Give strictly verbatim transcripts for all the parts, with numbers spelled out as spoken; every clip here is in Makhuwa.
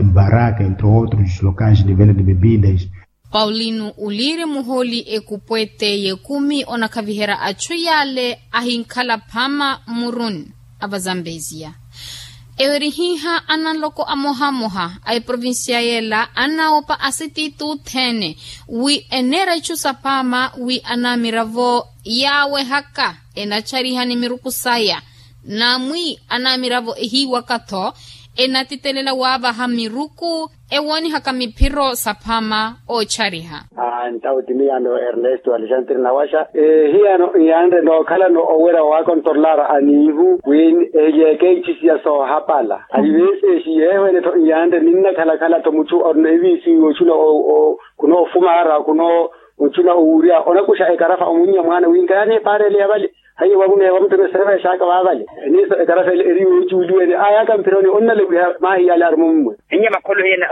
Baraka entre outros locais de venda de bebidas. Paulino uliri muholi ekupwete y'ekumi onakhaviherya achu yale ahinkhala phama mmuruni a vazambeziya. Ewerihiha ananloko amohamoha a eprovincia yela anawopa asititu othene wi eneera ichu saphama wi anamiravo yaawehaka enachariha ni miruku saya. Namwi anamiravo ehiiwaka-tho enatitelela waavaha miruku ewoonihaka miphiro saphama oochariha. Ntawo ti miyano ernesto alexandre nawaxa. Ehiyano nyanre nookhalano owerya waakontorolaara aniihu wi ehilyeke ichisiya soohapala. Ayiveseexi yeehwene-tho nyanre ninnakhalakhala-tho muchu orina eviisi yoochuna khunoofumaara khunoochuna owurya onakuxa ekarafa omunnya mwaana wi nkayani epaarele ya vale. Haiyo wamuneewa mutono eserefa exaaka vaavale. Eniiso ekarafa ele eri yoocuuliwene ayaka mphironi onnalewiha maahi yale aruma ommwe. Enye makholo ena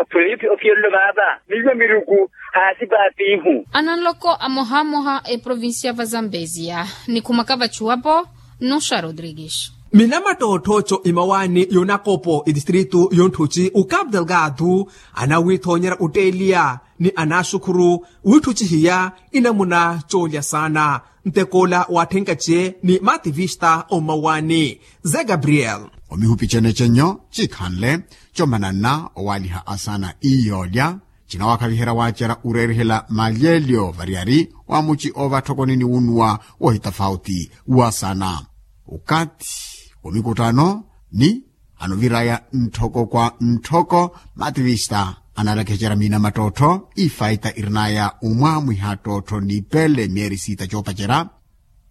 ofiyololo vaava miiwa miruku haasi paapiihu. Ananloko amohamoha eprovincia va zambezia nikhumaka vachuwapo. Nuxa rodrigues. Minamattootto co imawaani y'onakopo etistritu y'onttuci o capu delgado anawithoonyerya otteeliya ni anaaxukhuru wiitthucihiya inamuna coolya saana. Ntekoola waatthenkace ni maativista ommawani ze gabriel. Omihupi cenecenyo cikhanle comananna owaaliha asaana iyoolya cinawakhaviherya waacerya oreerihela malyelyo variyari wa muci ovatthokoni ni wunnuwa wohitafauti wa saana. Okathi womikuttano ni anoviraya ntthoko kwa ntthoko maativista analakecerya miinamattottho ifaita irinaya omwamwiha ttottho nipele myeeri siita coopacerya.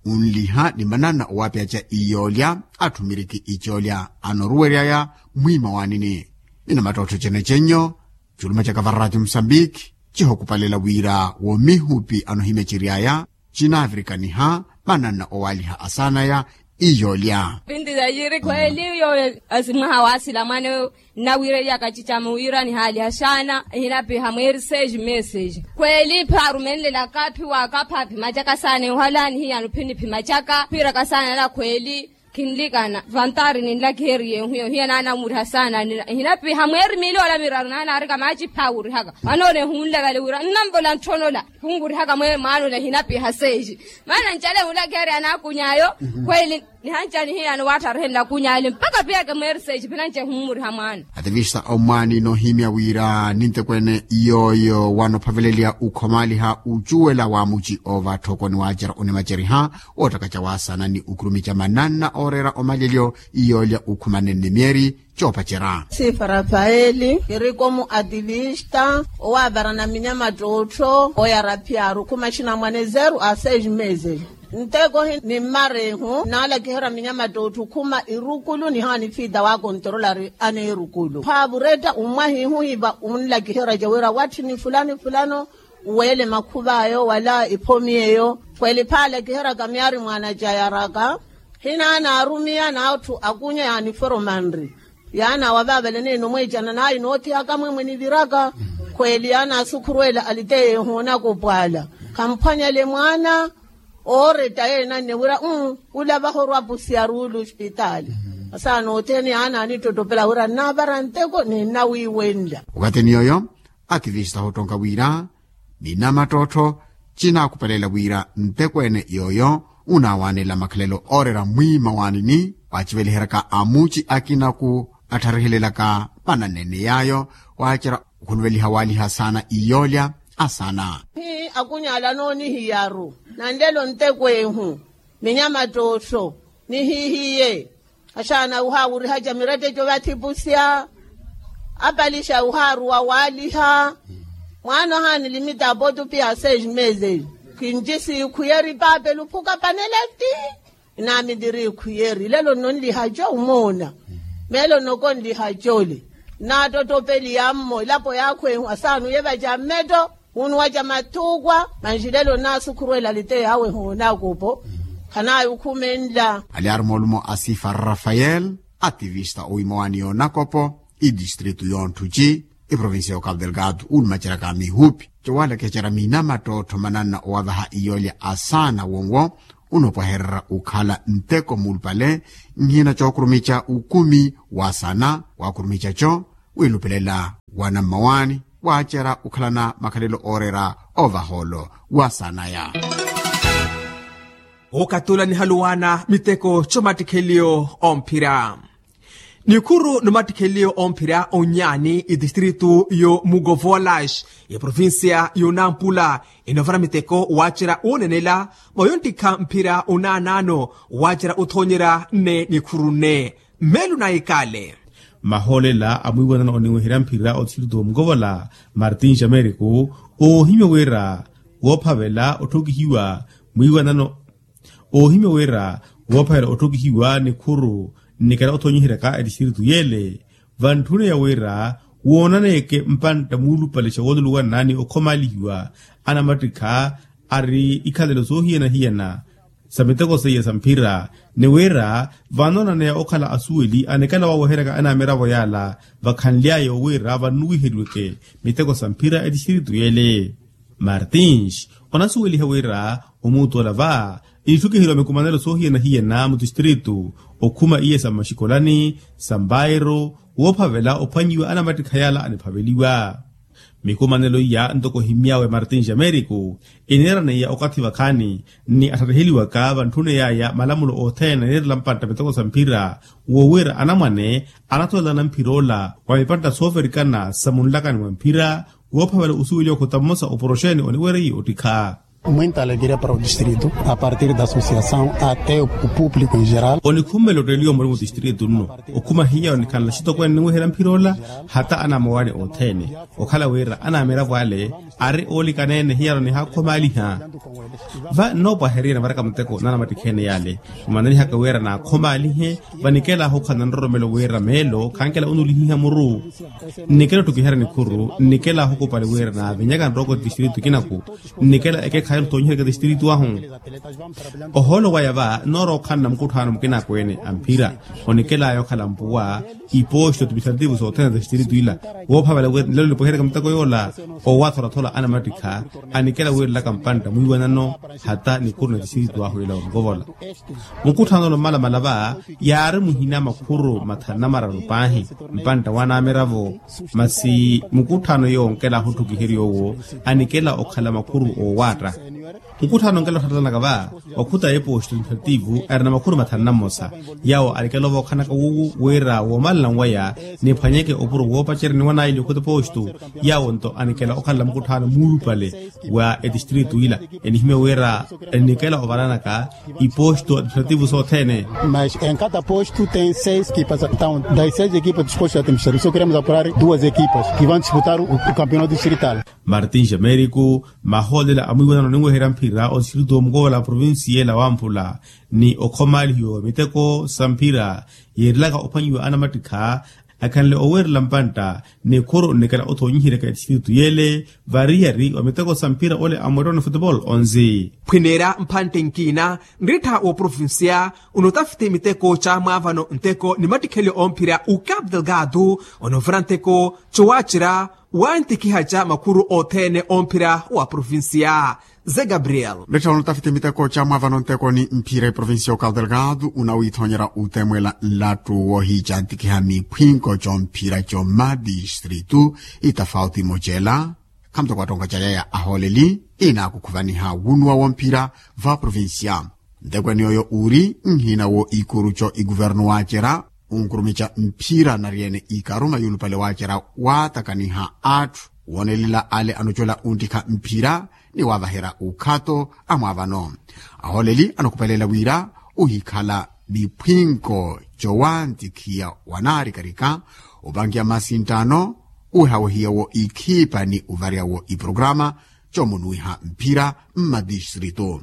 Onliha ni mananna owaapiyaca iyoolya atthu miriki icoolya anoruweryaya mwiima waanini. Miinamattottho cenecenyo culuma caka vararaati musambiki cihokupalela wira womihupi anohimya ciryaya cinaavirikaniha mananna owaaliha asaanaya iyoolya. Pinti za yiri khweeli yooyo asimwaha waasila mwaneyo nnawiireliyaka cicama wira nihaaliha xaana ehinapiha mweeri seis meses. Khweeli phi arumenlelaka phi waakapha phimacaka saana ehuhalaani hiyano phi niphimacaka phiiraka saana na khweeli. Khinlikana vantari ninlakiheriye ehuyo hiya naanammuriha saana nira ehinapiha mweeri miili ola miraru naanaarika maaci phi awurihaka. Mwaana ole ehunla vale wira nnamvola ntthonola khunwurihaka mwaana ole ehinapiha seis. Maana ncale ehunlakiherya anaakuny'ayo khweeli nihanca nihiyano waattarihenla akuny'ale mpakha piyeke mweeri seis phinanci ehummuriha mwaana. Ativista ommwaani noohimya wira nintekweene yooyo wanophaveleliya ukhomaaliha ucuwela wa muci ovatthoko ni waacerya onimaceriha woottakaca waasana ni ukhurumica mananna ooreera omalyelyo iyoolya ukhumanene myeeri coopacerya. Sifa rafaeli kirikomu ativista owaavarana minyamattottho oyara phiyaaru khuma xinamwane zeru a seis meses. Nteko hi ni mmarehu nnaalakiherya minyamattottho khuma irukulu nihaani fiita waakontorolari aneerukulu khaavuretta ummwahihu hiva unlakiherya jawira watthi ni fulani fulano uweele makhuv'ayo wala iphomi eyo. Khweeli phaalakiheryaka myaari mwaana jayaraka hinaana arumiya n'atthu akunya yaaniforomanri yaana wavaavale neene omweecana naayi noothihaka mwemwe niviraka. Khweeli yaana asukhuruwela aliteya ehoonaka opwaala khamphwanyale mwaana ooretta yeene anne wira uu ula vaho orwapusiya ruulu ospitaali. Asaana othene yaana anittottopela wira nnaavara nteko ni nnawiiwenla. Okathini yooyo ativista hoottonka wira minamattottho cinaakupelela wira ntekweene yooyo unaawanela makhalelo ooreera mwiima waanini waaciveliheryaka amuci akinaku attharihelelaka mananene yaayo waacerya okhuluveliha waaliha saana iyoolya asaana. Hi akuny'ala anoonihiyaru nanlelo ntekweehu minyamattottho nihihiye axaana uhaawurihaca miretteco vathipusya apalixa uhaaruwa waaliha mwaana ohaanilimita apotupi a seis meses. Kinci siikhuyeri paapela ophuka paneleti inaamiliri ikhuyeri lelo nnonlihaco omoona meelo nnoko nlihaco ole nnaattottopeliya mmo elapo yaakhwehu asaana uyevaca mmetto wunuwaca matthukwa manxilelo nnaasukhuruwela liteya awe hoonaakopo. Khanaayo okhumenla. Alyaari moolumo a sifa rafael ativista owiimowani yoonakopo itistritu yoonthuci iprovincia yo capu delgado uulumaceryaka mihupi cowaalakecerya miinamattottho mananna owavaha iyoolya asaana wonwo unopwahererya okhala nteko muulupale nhina cookurumica ukumi wa saana waakurumicaco wiilupelela. wa nammawaani waacerya okhalana makhalelo ooreera ovaha olo wa saanaya. Okatula nihaluwaana miteko comattikheliyo omphira. Nikhuru nomattikheliyo omphira onyaani itistritu yo mugovolas ya provincia yo nampula inovara miteko waacerya wonenela mwa yonttikha mphira onaanaano waacerya othoonyerya nne nikhuru nne. Mmeelo na ikale. Mahoolela a mwiiwanano oniweherya mphira otistritu omukovola martin jameriku oohimya wira woophavela otthokihiwa mwiiwanano oohimya wira woophavela otthokihiwa nikhuru nnikela othoonyiheryaka etistritu yeele vantthuna ya wira woonaneke mpantta muulupale xa wooluluwanani okhomaalihiwa anamattikha ari ikhalelo soohiyana-hiyana sa miteko seiya sa mphira ni wira vanonaneya okhala asuweli anikela waweheryaka anaamiravo yaala vakhanly'aya owira vannuwiheriweke miteko sa mphira etistritu yeele. Martins onasuweliha wira omuutu ola va itthukiheryiwa mikumanelo soohiyana-hiyana mutistritu okhuma iya sa mmaxikolani sa mbairo woophavela ophwanyiwa anamattikha yaala aniphaveliwa. Mikumanelo iya ntoko ohimy'awe martin jameriku iniiraneya okathi vakhaani ni attatiheliwaka vantthuna yaya malamulo othene anirela mpantta miteko sa mphira woowira anamwane anatholela namphira ola wa mipantta sooverikana sa munlakani mwa mphira woophavela osuweliwa okhota mmosa oporoxeni oniwereiye ottikha. Muinta alegria para o distrito a partir da associação até o público em geral. Onikhummela otteliwa muri mutistritu nno okhuma hiyawo nikhanla axitokweene niweherya mphira ola hata anamowani othene okhala wira anaamiravo ale ari oolikaneene hiyawo nihaakhomaaliha. Va nnoopwaherya nnavaraka muteko nanamattikheene yale mmananihaka wira naakhomaalihe vanikeelaahu okhala nanroromelo wira meelo khankela onulihiha muru nnikela ottukiherya nikhuru nnikela ohukupali wira naavinyaka nrooko tistritu kinaku nnikela ekekhayi ottoonyiherya ka tistritu ahu. Ohoolo waya va noorowa okhanna mukutthaano mukinakweene a mphira onikelaya okhala mpuwa iposto tipisalativu sothene za tistritu ila woophavela wira nlelo nipohereka muteko yoola owatholaathola anamattikha anikela wiirelaka mpantta mwiiwanano hata nikhuru na tistritu ahu ila omukovola. Mukutthanolo mmalamala va yaari muhina makhuru mathanu na mararu paahi mpantta wanamiravo masi mukutthano yoonkela ahutthukiheriwa owo anikela okhala makhuru oowaatta. Mukutthano onkela otthattanaka va okhuta eposto administrativu ari na makhuru mathanu na mmosa yawo anikela ovookhanaka wuwu wira woomalana waya niphwanyeke opuro woopacerya niwanaili okhuta eposto. Yawo nto anikela okhalela mukutthano muulupale wa etistritu ila enihimya wira enikela ovalanaka iposto administrativu sothene. Mas em cada posto tem seis equipas, então das seis equipas dos postos administrativos só queremos apurar duas equipas que vão disputar o campeonato distrital. Martin jameriku mahoolela a mwiiwanano ninweherya mphira otistritu omukovola provincia ela wamphula ni okhomaalihiwa wa miteko sa mphira yeerilaka ophwanyiwa anamattikha akhanle oweerela mpantta nikhuru nnikela othoonyiheryaka etistritu yeele variyari wa miteko sa mphira ole a mwettoni futebol onzi. Phwineerya mpantte nkina nrittha wooprovincia onotafiti miteko ca mwaavano nteko ni mattikhelyo omphira u capu delgado onovira nteko cowaacerya wantikiha ca makhuru othene omphira wa provincia. Ze gabriel. Nrittha onotafiti miteko ca mwaavano nteko ni mphira eprovincia o capu delgado unawiithonyerya utemwela nlattu woohiicantikiha miphwinko comphira comadistritu itafauti mocela khamutoko attonka ca yaya ahooleli inaakukhuvaniha wunuwa womphira va provincia. Ntekweni oyo uri nhina wo ikuru co iguvernu waacerya onkurumica mphira nari-ene ikaruma yuulupale waacerya waatakaniha atthu woonelela ale anocola onttikha mphira ni waavaherya ukhato a mwaavano. Ahooleli anokupelela wira ohikhala miphwinko cowantikhiya wanaarikarika opankiya masinttano owehawehiya wo ikhipa ni ovarya wo iprograma comunuwiha mphira mmadistritu.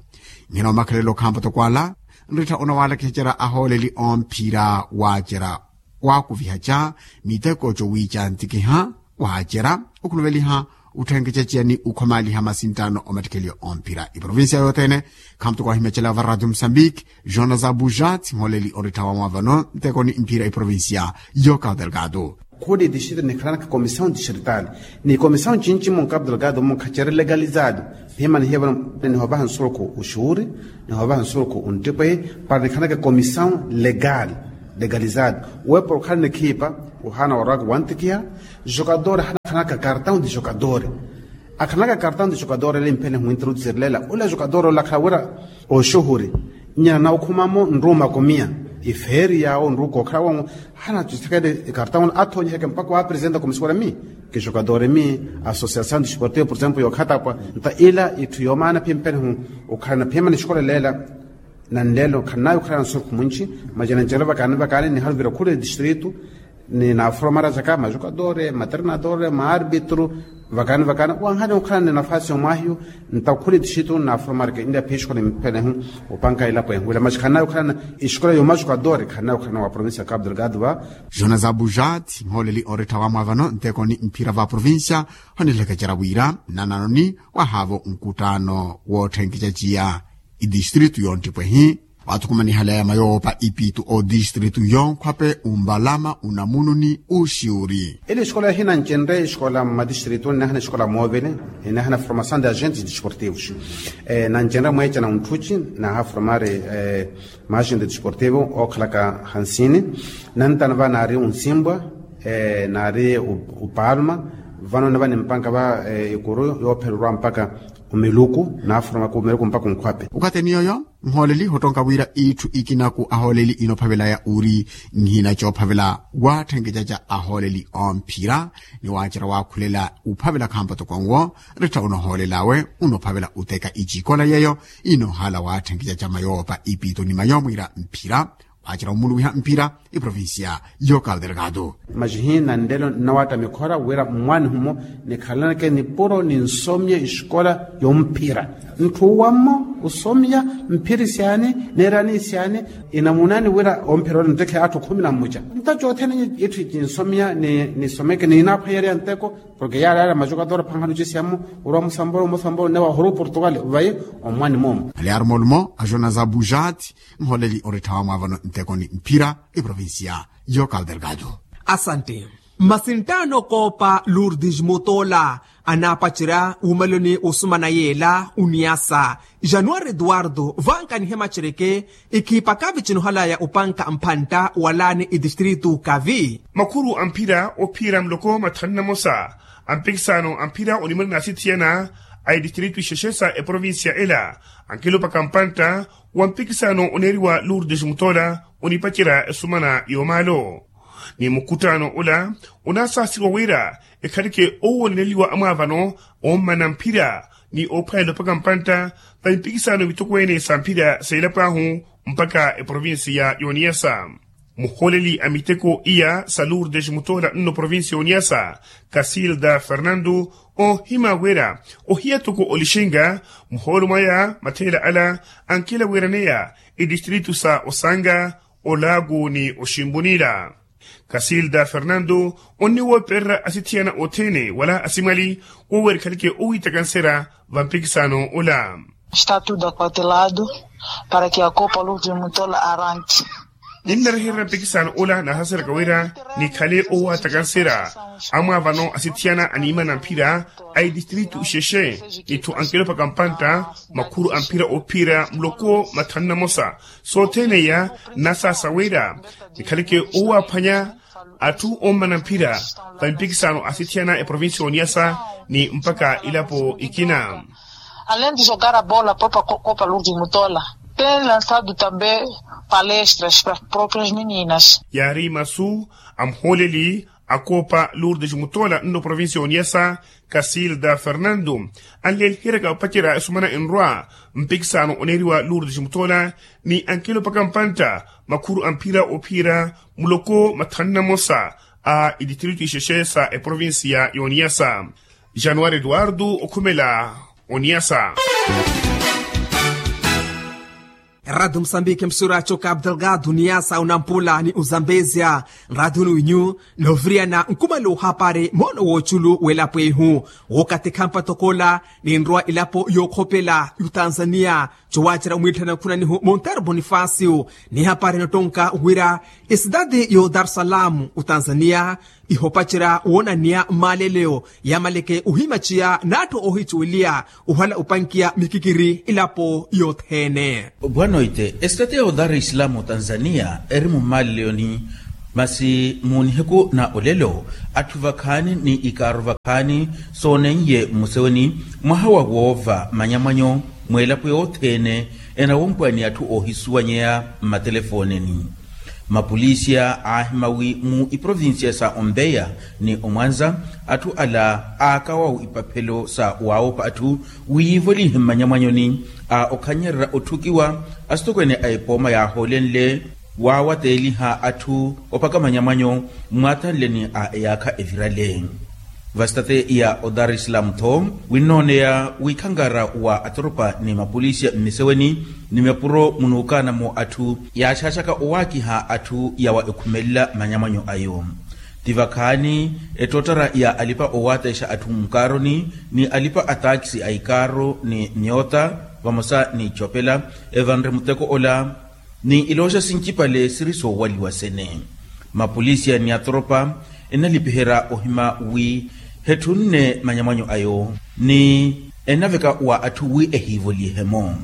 Nhina omakhalelo khampa toko ala nrittha onawaalakihacera ahooleli omphira waacerya waakuvihaca miteko cowiicantikiha waacerya okhuluveliha otthenkeca ciya ni okhomaaliha masinttano omattikheliyo omphira iprovincia yothene. Khampa toko ahimecela va radio mosambiki jonas abuja tsi mhooleli onrittha wa mwaavano nteko ni mphira iprovincia yo capu delgado. Khudi distrito nikhalanaka comissão distrital ni comissão cinci mu capu delgado mu khaceri legalizado. Phimanihiye vano nihovaha nsuruku uxuuri nihovaha nsuruku unttipehi para nikhalanaka comissão legal legalizado. Wepo okhala nikhipa ohaana warwaka wantikiha jogador Akhanaka kartão de jogador. Akhanaka kartão de jogador ele mphene hwintrudu sirilela ula jogador ola akhala wira oxuhuri nyana na okhumamo nruuma kumia ifeeri yawo nruuka okhala wongo. Hana tuthekele ikartão ola athoonyiheke mpakha wa apresenta komisuwela mi ki jogador mi associação desportiva por exemplo yookhatapwa. Nta ila itthu yoomaana phi mphene hu okhalana phimani xikola leela. Nanleelo khannayo okhalana nsurukhu mwinci. Maci nancerela vakaani vakaani nihaluvira khula etistritu ni naaforomara caka majokadore materinadore maarbitru. Vakaani vakaani wanhani okhalana ni nafasi yomwahiyo nta okhula etistritu naaforomara ke nlya phi exikola mphene hu opanka elapo ehu ila maci khannayo okhalana exikola yomajokadore khannayo okhalana wa provincia ya cabo delgado va. Jonas abujat nhooleli orittha wamwaavano nteko ni mphira va provincia. Honilekecera wira nananoni wahaavo nkuttaano wootthenkecaciya itistritu yonttipwehi waathukumanihalaya mayoopa ipitu otistritu yonkhwape umbalama unamunu ni uxiuri. Ele exikola hinancenre exikola mmatistritu nnahana exikola moovele nnahana formação de agentes desportivos. Nancenre mweecana unthuci nahaformari maagente desportivo ookhalaka hansini. Nantana va naari unsimbwa naari upalma. Vano nava nimpanka va ikuru yoophererwa mpaka omiluku naaforomaka omiluku mpaka onkhwape. Okatheni yoyo nhooleli hottonka wira itthu ikinaku ahooleli inophavelaya uri nhina coophavela waatthenkecaca ahooleli omphira ni waacerya waakhulela uphavela khampa toko nwo. Rittha unohoolelawe unophavela uteka icikola yeyo inoohala waatthenkecaca mayoopa ipito ni mayoomwiira mphira. Waacira omuluwiha mphira iprovincia yo cabo delgado. Macihi na nlelo nnawaatta mikhora wira mmwaanihumo nikhalaneke nipuro ni nsomya exikola yomphira. Ntthu wammo osomya mphiri syani neerani syani. Inamunaani wira omphira ole nttekhe atthu khumi na mmuca nta cothene itthu cinsomya ni nisomeke ni inaaphwanyerya nteko. Porke yaari ale amacokatoro phankhano cisiyamu orwa musambolo musambolo newa horu portugal vayi omwani moomo. Aliarumolumo a jonas abujat nholeli oritthawa mwaavano nteko ni mphira eprovincia yo cabo delgado. Asante. Masi nttaano koopa lourdes mutola anaapacerya wuumaloni osumana yeela oniyasa januari eduardo vankanihe macereke. Ikhiipaka vicinohalaya opanka mphantta walaani etistritu kavi. Makhuru a mphira ophiira muloko mathanu na mosa a mpikisano a mphira onimana na asithiyana a etistritu ixexe sa eprovincia ela ankelopaka mpantta wa mpikisano oneeriwa lourdes mutola onipacerya esumana yoomaalo. Ni mukuttaano ola onaasasiriwa wira ekhaleke oowoneleliwa amwaavano ommana mphira ni oophwanyela opaka mpantta va mpikisano vitokweene sa mphira seelapo ahu mpaka eprovincia ya oniyasa. Muhooleli a miteko iya sa lourdes mutola nno provincia ya oniyasa kasilda fernando oohima wira ohiya toko olixinga muhoolo mwaya matheela ala ankela weeraneya etistritu sa osanga olaaku ni oximbunila. Kasilda fernando onniwoopererya asithiyana othene wala asimwali wowerikhaleke owiitaka nsera va mpikisano ola. Está tudo akotelado para que a copa luz de mutola arranque. Ninnarehererya mpikisano ola naahaseraka wira nikhale owaattaka nsera amwaavano asithiyana animana mphira a etistritu ixexe ni tho ankelopaka mpantta makhuru a mphira ophiira muloko mathanu na mosa. Sothene iya nnasaasa wira nikhaleke owaaphwanya atthu ommana mphira va mpikisano asithiyana eprovincia ya oniyasa ni mpaka ilapo ikina. Além de jogar a bola a própria copa lourdes mutola tem lançado também palestras para as próprias meninas. Yaari masu a muhooleli a copa lourdes mutola nno provincia ya oniyasa kasilda fernando anleeliheryaka opacerya esumana enrwa mpikisano oneeriwa lourdes mutola ni ankelopaka mpantta makhuru a mphira ophiira muloko mathanu na mosa a etistritu ixexe sa eprovincia ya oniyasa. Januari eduardo okhumela oniyasa. Eradio musambiki msuracho cabo delgado niyasa onampula ni ozambezia nradio ni winyu noviriyana nkumale ohapari moono woochulu w'elapo ehu wookatikha mpatoko ola ninrowa elapo yookhopela y'otanzania. Cowaacera omwiitthana nkhunanihu montero bonifacio nihapari nottonka wira esidadi yo dar es salaam otanzania ihopacerya woonaniya mmaleleyo yamaleke ohimaciya n'atthu oohicuweliya ohala opankiya mikikiri elapo yothene. Bwanoite esitati ya odar islam otanzania eri mummaleleyoni Masi mu nihiku na olelo, atthu vakhaani ni ikaaru vakhaani sooneiye mmuseweni mwaha wa woova manyamwanyo, mw'elapo yothene enawompwa ni atthu oohisuwanyeya mmatelefooneni. Mapolisiya aahima wi mu iprovincia sa ompeya ni omwanza, atthu ala aakawawu ipaphelo sa waawopha atthu wi yiivolihe mmanyamwanyoni a okhannyererya otthukiwa. Asitokweene a epooma yaahoolenle waawateeliha atthu opakamanya mwanyo mwaathanleni a eyaakha evirale. Vasitateya odarislam tho winnooneya wikhankara wa atoropa ni mapolisiya mmiseweni ni mapuro munuukaanamo atthu yaaxaaxaka owaakiha atthu yawa ekhumelela manyamwanyo ayo. Ti vakhaani ettoottara ya alipa owaateexa atthu mukaaroni ni alipa a taakisi a ikaaro ni myoota vamosa ni icopela evanre muteko ola ni ilooxa sincipale siri soowaliwa sene. Mapolisiya ni atoropa ennalipiherya ohima wi hetthunne manyamwanyo ayo ni ennaveka wa atthu wi ehiivolihe-mo.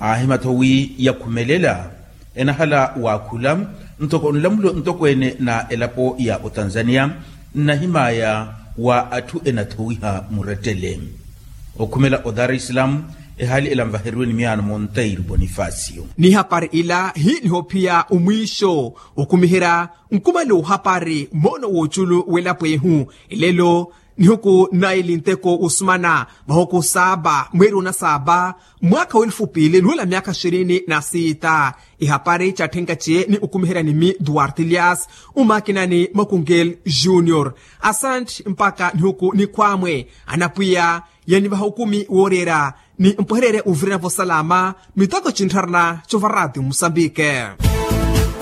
Aahima-tho wi yakhumelela enahala waakhula ntoko nlamulo ntokweene na elapo ya otanzania nnahimaya wa atthu enathowiha murettele. Okhumela odarislam ehaali ela nvaheriwe ni miyaano monteiro bonifasio. Ni hapari ila hi nihophiya omwiixo okhumiherya nkumale ohapari moono wooculu w'elapo ehu. Elelo nihuku naili nteko osumana vahuku saaba mweeri ona saaba mwaakha w'elufu piili nuwela myaakha xirini na siita. Ihapari catthenka ciye ni okumiherya ni mi duarte lias umakinani makungel junior. Asante mpakha nihuku nikhwaamwe anapwiya yanivaha okumi wooreera ni mpwehererye uvirana vosalama mitoko cintharana cova ratio musambike.